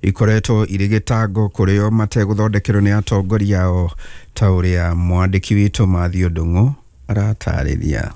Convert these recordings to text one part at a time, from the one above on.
Ikoretwo irĩ gĩtango kũrĩ o mategũthondekerwo nĩ atongoria ao, ta ũrĩa mwandĩki witũ Mathew Ndung'u aratarĩria.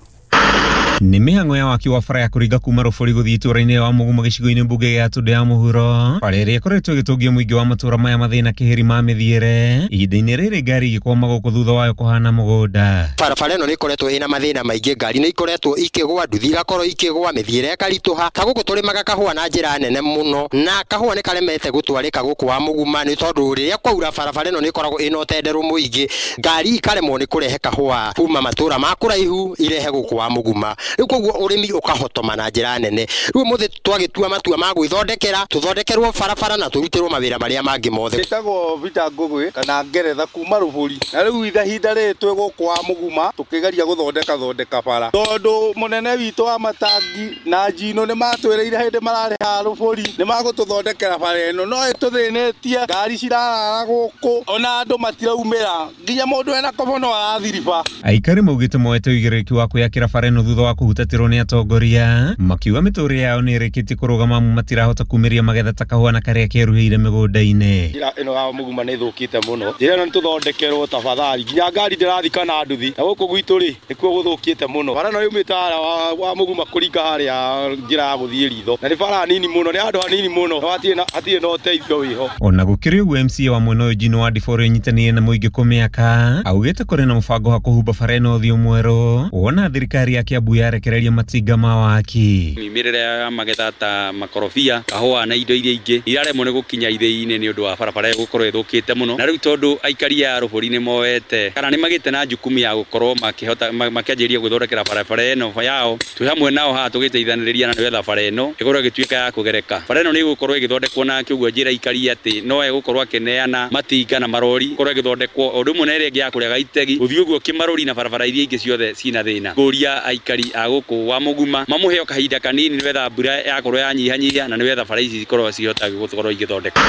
Nĩ mĩhang'o ya waki wa bara ya kũringa kuma Rũbũri gũthiĩ itũũra-inĩ wa Mũgumo gĩcigo-inĩ mbunge gĩa Gatũndũ ya mũhuro, bara ĩrĩa ĩkoretwo ĩgĩtũngia mũingĩ wa matũũra maya mathĩna kĩhĩri ma mĩthiĩre. Ihinda-inĩ rĩrĩ ngari igĩkwama gũkũ thutha wayo kũhana mũgũnda. Barabara ĩno nĩ ĩkoretwo ĩna mathĩna maingĩ, ngari nĩ ikoretwo ikĩgwa, nduthi igakorwo ikĩgwa, mĩthiĩre ĩkaritũha. Ta gũkũ tũrĩmaga kahũa na njĩra nene mũno, na kahũa nĩ karemete gũtwarĩka gũkũ wa Mũguma nĩ tondũ rĩrĩa kwaura barabara ĩno nĩ ĩkoragwo ĩna ũtenderũ mũingĩ, ngari ikaremwo nĩ kũrehe kahũa kuma matũũra ma kũraihu irehe gũkũ wa Mũguma. Rĩu koguo ũrĩmi ũkahotoma na njĩra nene. Rĩu ũmũthĩ twagĩtua matua ma gwĩthondekera, tũthondekerwo barabara na tũrutĩrwo mawĩra marĩa mangĩ mothe. Njĩtagwo Peter Ngũgĩ kana Ngeretha kuma Rũbũri, na rĩu ihinda rĩrĩ twĩ gũkũ wa Mũguma tũkĩgeria gũthondeka thondeka bara, tondũ mũnene witũ wa matangi na Njino nĩ matwĩrĩire hĩndĩ mararĩ haha Rũbũri nĩ magũtũthondekera bara ĩno, no ĩtũthĩnĩtie, ngari cirarara gũkũ ona andũ matiraumĩra, nginya mũndũ ena kobo no arathiriba. Aikari maugĩte moete ũigĩrĩrĩki wa kwĩyakĩra bara ĩno thutha wa kũhutatĩrwo nĩ atongoria, makiuga mĩtũrĩre yao nĩ ĩrĩkĩtie kũrũgama amu matirahota kumĩria magetha ta kahũa na karĩa keruhĩire mĩgũnda-inĩ. Njĩra ĩno ya Mũguma nĩ ĩthũkĩte mũno, njĩra ĩno nĩ tũthondekerwo tafadhali, nginya ngari ndĩrathiĩ kana nduthi, na gũkũ gwitũ rĩ nĩkuo gũthũkĩte mũno. Bara ĩno yumĩte harĩa wa Mũguma kũringa harĩa njĩra ya gũthiĩ ritho, na nĩ bara nini mũno, nĩ handũ hanini mũno, na hatirĩ na ũteithio wĩho. Ona gũkĩrĩ ũguo, MCA wa mwena ũyũ Njino wa Ndiboro ĩnyitanĩire na mũingĩ kũmĩaka augĩte kũrĩ na mũbango wa kũhumba bara ĩno ũthiũ mwerũ wona thirikari ya Kiambu yarekereria matinga ma waki. Mĩmĩrĩre ya magetha ta makorobia, kahũa na indo iria ingĩ iraremwo nĩ gũkinya ithĩi-inĩ nĩ ũndũ wa barabara ĩyo gũkorwo ĩthũkĩte mũno. Na rĩu tondũ aikari a Rũbũri nĩ moete kana nĩ magĩte na jukumu ya gũkorwo makĩhota makĩanjĩrĩria gwĩthondekera barabara ĩno yao, twĩ hamwe nao haha tũgĩteithanĩrĩria na nĩgetha bara ĩno ĩkorwo ĩgĩtuĩka ya kũgereka. Bara ĩno nĩ ĩgũkorwo ĩgĩthondekwo na kĩguo njĩra aikari atĩ no egũkorwo akĩneana matinga na marori ĩkorwo ĩgĩthondekwo o ũndũ ũmwe na ĩrĩa ĩngĩ ya kũrĩa Gaitegi gũthiĩ ũguo Kĩmarũri na barabara iria ingĩ ciothe cina thĩna. Ngũria aikari a gũkũ wa Mũguma mamũheo kahinda kanini nĩgetha mbura yakorwo yanyihanyihia na nĩgetha bara ici cikorwo cihota gũkorwo igĩthondekwo.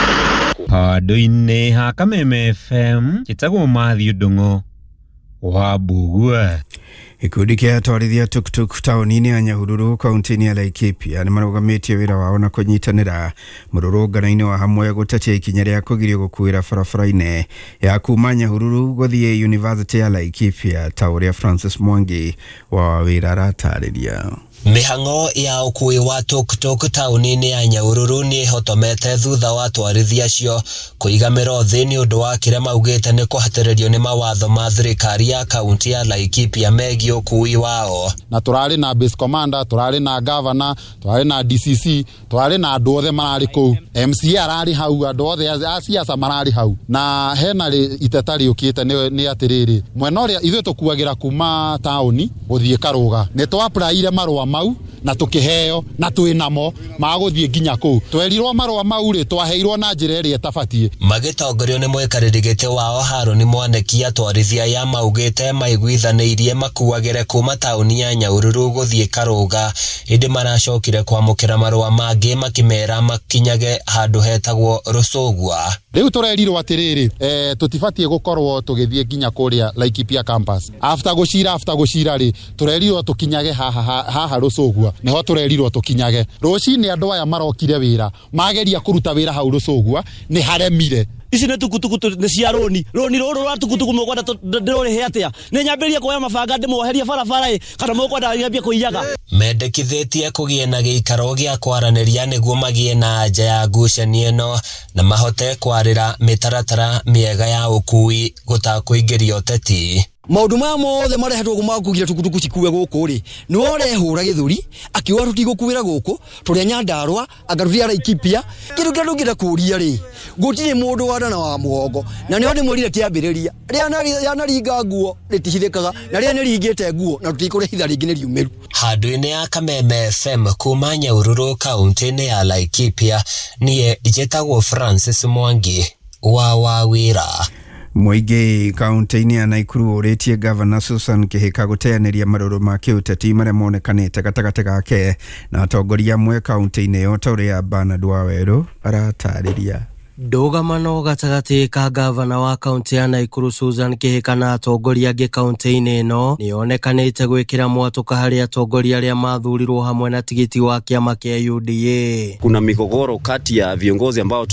Handũ-inĩ ha Kameme FM njĩtagwo Mathew Ndung'u wa Mbugua. Gĩkundi kĩa atwarithia tuktuk taũni-inĩ ya Nyahururu kaunti-inĩ ya Laikipia nĩ marũgamĩtie wĩra wao na kũnyitanĩra mũrũrũngano-inĩ wa hamwe gũtetia ikinya rĩa kũgirio gũkuĩra barabara-inĩ ya kuma Nyahururu gũthiĩ University ya Laikipia, ta ũrĩa Francis Mwangi wa wĩra aratarĩria. Mĩhang'o ya ũkuui wa tuktuk taũni-inĩ ya Nyahururu nĩ ĩhotomete thutha wa atwarithia acio kũiga mĩro thĩ nĩ ũndũ wa kĩrĩa maugĩte nĩ kũhatĩrĩrio nĩ mawatho ma thirikari ya kaunti ya Laikipia megiĩ ũkuui wao. Na tũrarĩ na base commander, tũrarĩ na governor, tũrarĩ na DCC, tũrarĩ na andũ othe mararĩ kũu, MCA ararĩ hau, andũ othe a siasa mararĩ hau, na hena iteta rĩũkĩte nĩ atĩrĩrĩ, mwena ũrĩa ithuĩ tũkuagĩra kuma taũni gũthiĩ Karũga, nĩ twa-applyire marũa mau na tũkĩheo na twĩnamo ma gũthiĩ nginya kũu. Twerirwo marũa mau rĩ, twaheirwo na njĩra ĩrĩa ĩtabatiĩ. Magĩtongorio nĩ mũikarĩri gĩtĩ wao Harũni Mwaneki, atwarithia aya maugĩte maiguithanĩirie makuagĩre kuma taũni ya Nyahururu gũthiĩ Karũga, ĩndĩ maracokire kwamũkĩra marũa mangĩ makĩmera makinyage handũ hetagwo Rũcũgua. Rĩu tũrerirwo atĩrĩrĩ, tũtibatiĩ gũkorwo tũgĩthiĩ nginya kũrĩa Laikipia campus. After gũcira rĩ, tũrerirwo tũkinyage haha Rũcũgua, nĩho tũrerirwo tũkinyage. Rũcinĩ andũ aya marokire wĩra, mageria kũruta wĩra hau Rũcũgua, nĩ haremire. Ici nĩ tukutuku nĩ cia rũni, rũni rũrũ rwa tukutuku mũkwenda ndĩrũrĩhe atĩa? Nĩ nyambĩrĩrie kuoya mabanga ndĩmwoherie barabara ĩ, kana mũkwenda nyambie kũiyaga? Mendekithĩtie kũgĩe na gĩikaro gĩa kwaranĩria nĩguo magĩe na anja ya ngucanio ĩno na mahote kwarĩra mĩtaratara mĩega ya ũkuui gũtakũingĩria ũteti. Maũndũ maya mothe marehetwo ma kũgiria tukutuku cikue gũkũ rĩ, nĩwe ũrehũra gĩthũri akiuga tũtigũkuĩra gũkũ, tũrĩ a Nyandarũa anga tũrĩ a Laikipia. Kĩndũ kĩrĩa ndũngĩenda kũũria rĩ, gũtirĩ mũndũ wa nda na wa mũgongo, na nĩho ndĩmwĩrire kĩambĩrĩria, rĩanaringa nguo rĩtihithĩkaga, na rĩrĩa nĩringĩte nguo na tũtikũrĩhitha rĩngĩ nĩ riumĩru. Handũ-inĩ ya Kameme FM kuma Nyahururu kaunti-inĩ ya Laikipia, niĩ njĩtagwo Francis Mwangi wa Wawĩra. Mũingĩ kaunti-inĩ ya Nakuru ũrĩtie Gavana Susan Kihika gũteanĩria marũrũ ma kĩũteti marĩa monekanĩte gatagatĩ gake na atongoria amwe kaunti-inĩ ĩyo, ta ũrĩa Bernard Wawerũ aratarĩria. Ndũgamano gatagatĩ ka gavana wa kaunti ya Nakuru Susan Kihika na atongoria angĩ kaunti-inĩ ĩno nĩyonekanĩte gwĩkĩra mwatũka harĩ atongoria arĩa mathurirwo hamwe na tigiti wa kĩama kĩa UDA. Kuna migogoro kati ya viongozi ambao